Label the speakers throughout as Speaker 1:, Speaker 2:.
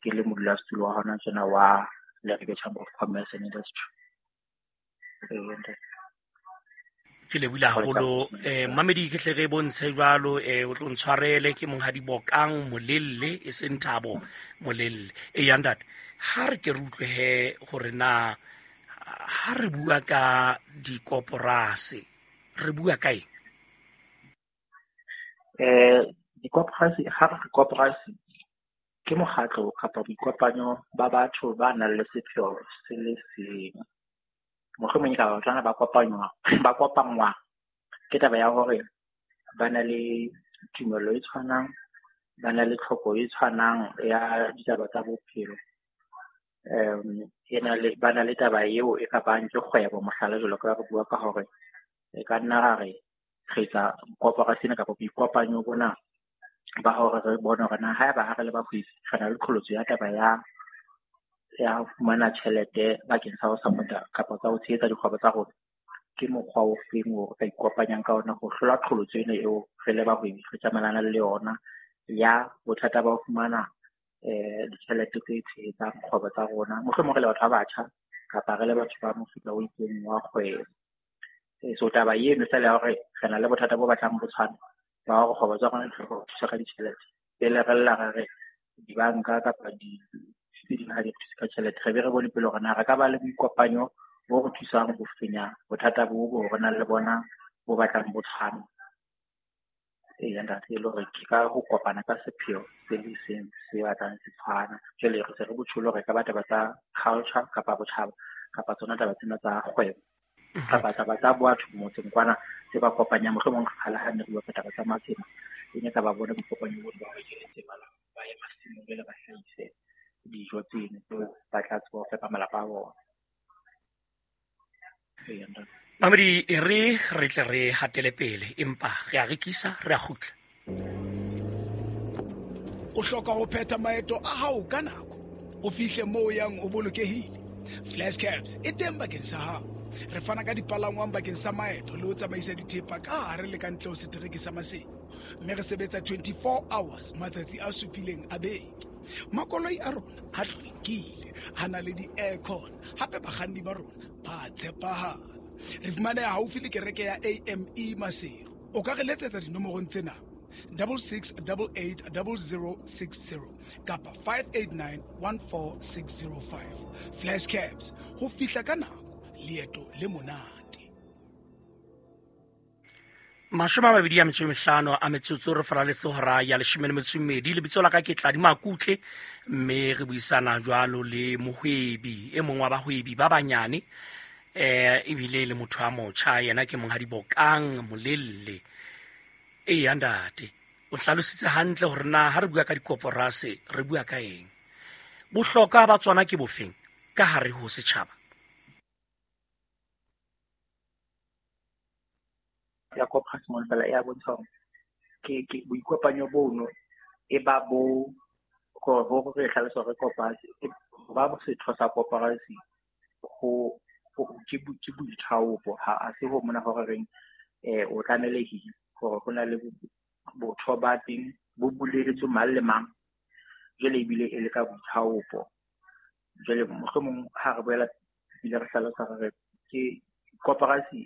Speaker 1: Ke le modulasetulo wa hona tjena wa Leribe Chamber of Commerce and Industry. Ee,
Speaker 2: Ke lebohile haholo, mamedi. Ke tle re bontshe jwalo, o tlo ntshwarele, ke Monghadi Bokang Molelle, e seng Thabo Molelle. E ya ntate, ha re ke re utlwe he hore na ha re bua ka dikoporase re bua ka eng?
Speaker 1: Dikoporasi, ha re koporasi ke mokgatlo kapa boikopanyo ba batho ba nang le sepheo se le seng. Mohlomong e ka ba batho ba kopangwa ke taba ya hore ba na le tumelo e tshwanang, ba na le tlhoko e tshwanang ya ditaba tsa bophelo. E na le ba na le taba eo e ka bang ke kgwebo, mohlala jwalo ka re bua ka hore e ka nna ra re re etsa koporasi ena kapa boikopanyo bona ba hore re bone hore na haeba ha re le bahwebi re na le qholotso ya taba ya ho fumana tjhelete bakeng sa ho support-a kapa tsa ho tshehetsa dikgwebo tsa rona, ke mokgwa o feng o re ka ikopanyang ka ona ho hlola qholotso ena eo re le bahwebi re tjamelanang le yona ya bothata ba ho fumana ditjhelete tse tshehetsang kgwebo tsa rona, mohlomong re le batho ba batjha kapa re le batho ba mofuta o itseng wa kgwebo. So taba eno fela ya hore re na le bothata bo batlang bo tshwana ba hore kgwebo tsa rona di hloka ho thuswa ka ditjhelete, pele re lla re re dibanka kapa di tse ding ha di re thuse ka tjhelete, re be re bone pele hore na re ka ba le boikopanyo bo re thusang ho fenya bothata bo bo re nang le bona bo batlang bo tshwana. Eya ntate, e le hore ke ka ho kopana ka sepheo se le seng se batlang se tshwana. Jwale re se re botjholo hore e ka ba taba tsa culture kapa botjhaba kapa tsona taba tsena tsa kgwebo kapa taba tsa batho motseng kwana tse ba kopanyang. Mohlomong kgale ha ne re bua ka taba tsa matsema, e ne ka ba bona boikopanyo bo ba hore ke letsema ba ye masimong jwale ba hlahise dijo tseno tseo ba tla tseba ho fepa malapa a bona. Eya ntate.
Speaker 2: Mamedi, e re re tle re hatele pele, empa re a rekisa, re a kgutla.
Speaker 3: O hloka ho phetha maeto a hao ka nako, o fihle moo o yang o bolokehile. Flash Cabs e teng bakeng sa hao. Re fana ka dipalangwang bakeng sa maeto le ho tsamaisa dithepa ka hare le ka ntle ho setereke sa Maseru, mme re sebetsa 24 hours matsatsi a supileng a beke. Makoloi a rona a hlwekile, a na le di-aircon, hape bakganni ba rona ba tshepahala. Re fumaneha haufi le kereke ya AME Maseru. O ka re letsetsa dinomorong tsena: 66880060 kapa 58914605. Flash Cabs, ho fihla ka nako, leeto le monate.
Speaker 2: 25 a metsotso re faraletse hora ya 12. Lebitso la ka ke Tladi Makutle, mme re buisana jwalo le mohwebi e mong wa bahwebi ba banyane, ebile le motho a motjha, yena ke Monghadi Bokang Molelle. Eya ntate, o hlalositse hantle hore na ha re bua ka dikoporase re bua ka eng, bohlokwa ba tsona ke bofeng ka hare ho setjhaba.
Speaker 1: Ya koporasi mona fela e a bontsha hore ke boikopanyo bono e ba bo hore re hlalosa hore koporasi ba setho sa koporasi ho ke boithaopo, ha a se ho mona hore reng o tlamelehile hore ho na le botho ba teng bo buleletswe mang le mang, jwale ebile e le ka boithaopo. Jwale mohlomong ha re boela ebile re hlalosa hore ke koporasi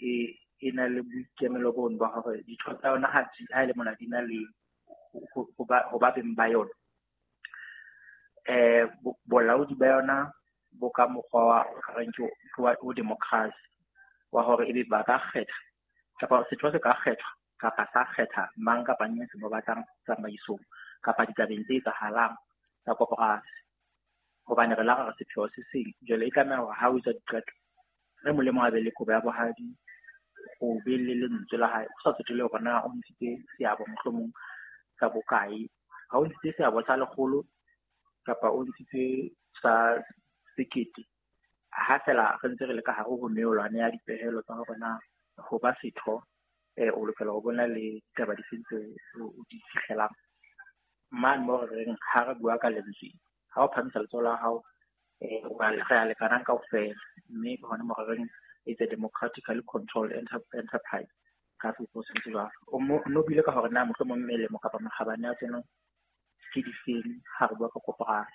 Speaker 1: e na le boikemelo bono ba hore ditho tsa yona ha e le mona di na le ho ba beng ba yona. Bolaodi ba yona bo ka mokgwa wa reng ke wa o democracy, wa hore ebe ba ka kgetha kapa setho se ka kgethwa kapa sa kgetha mang kapa mang se mo batlang tsamaisong kapa ditabeng tse etsahalang tsa koporasi. Hobane re la re sepheo se seng, jwale e tlameha hore ha o etsa diqeto re molemo a be le kobo ya bohadi, ho be le lentswe la hae, ho sa tsotelle hore na o ntshitse seabo mohlomong sa bokae. Ha o ntshitse seabo sa 100 kapa o ntshitse sa 1000, ha fela re ntse re le ka hare ho meolwane ya dipehelo tsa hore na ho ba setho, o lokela ho bona le ditaba di feng tseo o di fihlelang. Mane moo re reng ha re bua ka lentswe, ha o phahamisa letsoho la hao, re a lekanang kaofela, mme ke hona moo re reng it's a democratically controlled enterprise ka sepuo se jwalo. O no buile ka hore na mohlomong melemo kapa makgabane a tsona ke difeng ha re bua ka koporasi.